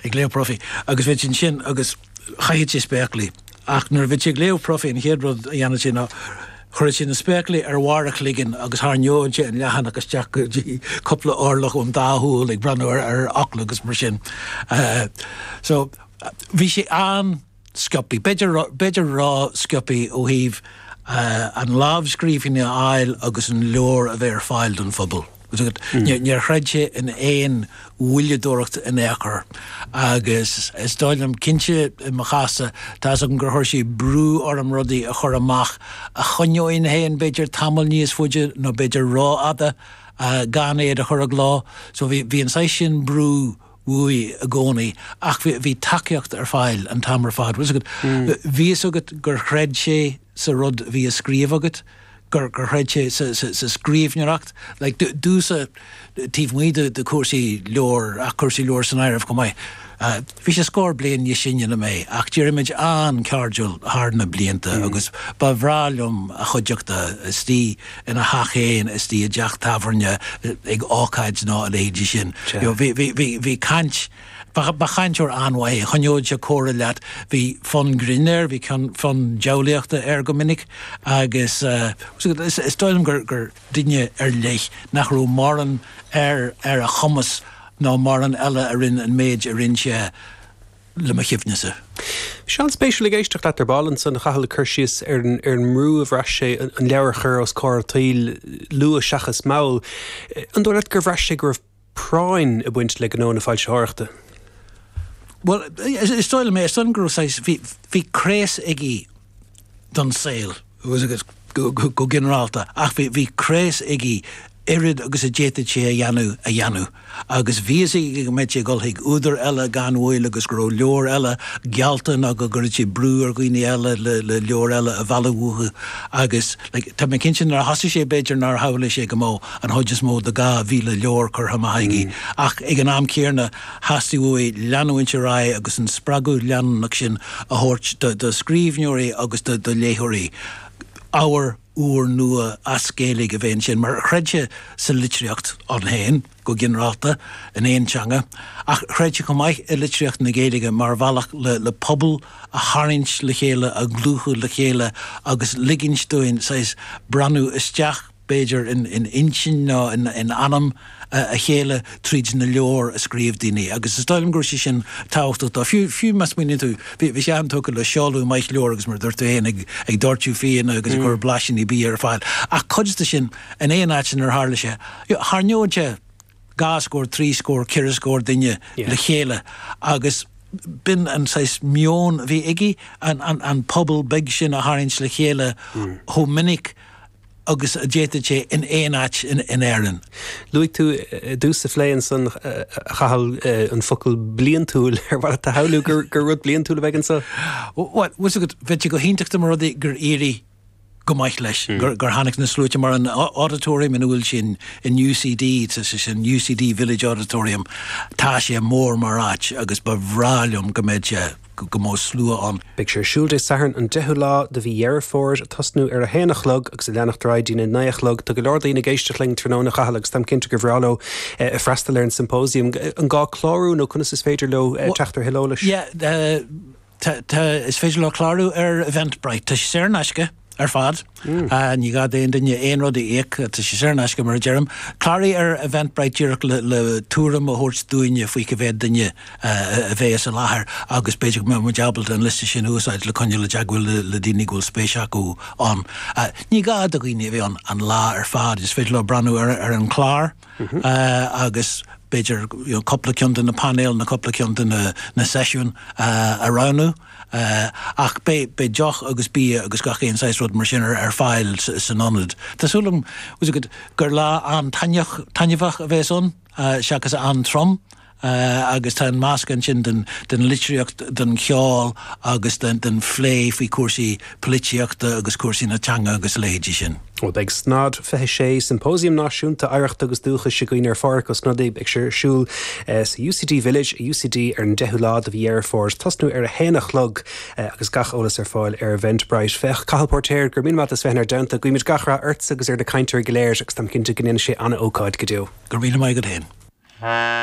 Ag léamh profaí. Agus bheadh sé ansin agus chaithfeadh sé spéaclaí. Ach nuair a bheadh sé ag léamh profaí an chéad rud a dhéanadh sé ná chuireadh sé na spéaclaí ar bharr a chloiginn agus tharraingeodh sé an leathanach isteach go dtí cúpla orlach ón dá shúil ag breathnú ar ar fhocla agus mar sin. So bhí sé an. sciobthaí, b'fhéidir, b'fhéidir ró-sciobthaí ó thaobh an lámhscríbhinn a fháil agus an leabhar a bheith ar fáil don phobal. Níor chreid sé in aon mhoilleadóireacht in aon chor agus is dóigh liom, cinnte i mo chás-sa, tá's agam gur chuir sé brú orm rudaí a chur amach a choinneoinn féin b'fhéidir tamall níos faide nó b'fhéidir rófhada gan iad a chur i gcló. So bhí, bhí an saghas sin brú uaidh i gcónaí ach bhí tacaíocht ar fáil an t-am ar fad. Bhfuil 's agat, bhí fhios agat gur chreid sé sa rud a bhí á scríobh agat, gur chreid sé sa scríbhneoireacht. Like, domhsa, taobh amuigh de chúrsaí leabhar, ach cúrsaí leabhar san áireamh chomh maith, bhí sé scór bliain níos sine ná mé ach d'éirigh muid an-chairdiúil thar na blianta agus ba bhreá liom a chuideachta istigh ina theach féin, istigh i dteach tábhairne, ag ócáid nó a leithéidí sin. You know, bhí, bhí, bhí, bhí caint, ba, ba chainteoir an-mhaith é, choinneodh sé comhrá leat, bhí fonn grinn air, bhí ceann, fonn diabhlaíochta air go minic agus eh, is, is dóigh liom gur, gur duine ar leith nach raibh mórán ar, ar a chumas ná mórán eile a rinne an méid a rinne sé le mo chuimhnese. Bhí sé an-spéisiúil ag éisteacht leat ar ball ansan, a Chathail, ag cur síos ar an ar an mbrú a bhraith sé an leabhar a chur os comhair an tsaoil luath seachas mall. An dóigh leat gur bhraith sé go raibh práinn ag baint le gnó na foilsitheoireachta? Bhuel, is dóigh liom é. Is dóigh liom go raibh saghas, bhí, bhí craos aige don saol. go ginearálta, ach bhí craos aige oiread agus a d'fhéadfadh sé a dhéanamh a dhéanamh agus bhí fhios aige go mbeadh sé ag dul chuig údair eile gan mhoill agus go raibh leabhair eile geallta nó go gcuirfeadh sé brú ar dhaoine eile le le leabhair eile a mhealladh uathu agus like tá mé cinnte nuair a thosaigh sé b'fhéidir nár shamhlaigh sé go mbeadh an chuid is mó de 2,000 leabhar curtha amach aige ach ag an am céanna Theastaigh uaidh leanúint ar aghaidh agus an spreagadh leanúnach sin a thabhairt do scríbhneoirí agus do léitheoirí, ábhar úr nua as Gaeilge a bheith ansin, mar chreid sé sa litríocht ann féin, go ginearálta, in aon teanga, ach chreid sé chomh maith i litríocht na Gaeilge mar bhealach le pobal a tharraingt le chéile, a dhlúthú le chéile agus ligint dúinn saghas breathnú isteach b'fhéidir, in intinn nó in anam a chéile tríd na leabhair a scríobh daoine agus is dóigh liom go raibh sé sin tábhachtach dó. Fiú, fiú má smaoiníonn tú, bhí, bhí sé an-tógtha le seoladh maith leabhar agus mar a dúirt tú féin ag, ag doirteadh fíona agus ag cur blaisíní bia ar fáil ach cuid de sin in aon áit inar tharla sé, tharraingeodh sé dhá scór, trí scór, ceithre scór duine le chéile agus b'in an saghas meon a bhí aige, an, an, an pobal beag sin a tharraingt le chéile chomh minic agus a d'fhéadfadh sé in aon áit in Éirinn. Luaigh tú i dtús an phlé ansan, a Chathail, an focal bliantúil. Ar mhaith leat a shamhlú gur rud bliantúil a bheidh anso? Bhuel, bhfuil 's agat, bheadh sé go hiontach dá mba rud é gur éirigh go maith leis, gur tháinig na sluaite mar an auditorium ina bhfuil sé in UCD, tá sé sin UCD Village Auditorium, tá sé mór mar áit agus ba bhreá liom go mbeadh sé go mbeadh slua ann. Beidh sé ar siúl Dé Sathairn an 10ú lá de mhí Dheireadh Fómhair, ag tosnú ar a haon a chlog agus ag leanacht ar aghaidh dtína naoi a chlog. Tá go leor daoine ag éisteacht linn tráthnóna, a Chathail, agus táim cinnte gur bhreá leo freastal ar an symposium. An gá clárú nó conas is féidir leo teacht ar thuilleadh eolais? Yeah, tá, tá, is féidir leo clárú ar Eventbrite. Tá sé saor in aisce. ar fad. Ní gá d'aon duine aon rud a íoc, tá sé saor in aisce mar a deirim. Cláraigh ar Eventbrite díreach le tuairim a thabhairt dúinne faoi cá mhéad duine a bheas i láthair agus b'fhéidir go mbeidh muid ábalta an liosta sin a úsáid le coinneáil i dteagmháil le daoine go bhfuil spéis acu ann. Ní gá do dhaoine a bheith ann an lá ar fad, is féidir leo breathnú ar an chlár agus b'fhéidir cúpla ceann de na painéil nó cúpla ceann de na seisiúin a roghnú. Ach beidh deoch agus bia agus gach aon saghas rud mar sin ar fáil san ionad. Tá súil agam gur lá an-taitneamhach a bheas ann seachas an-trom agus tá an meascán sin den litríocht, den cheol agus den phlé faoi chúrsaí polaitíochta agus cúrsaí na teanga agus a leithéidí sin. Bhuel, beidh SNOD 26, Symposium Náisiúnta Oidhreachta agus Dúchais againn ar Phádhraic Ó Snodaigh. Beidh sé ar siúl sa UCD Village i UCD ar an 10ú lá de mhí Dheireadh Fómhair, tosnú ar a haon a chlog agus gach eolas ar fáil ar Eventbrite. Féach, Cathal Póirtéir, go raibh míle maith agat as bheith inár dteannta. Guímid gach rath ortsa agus ar na cainteoirí go léir agus táim cinnte go ndéanfaidh sé an-ócáid go deo. Go raibh míle maith agat féin.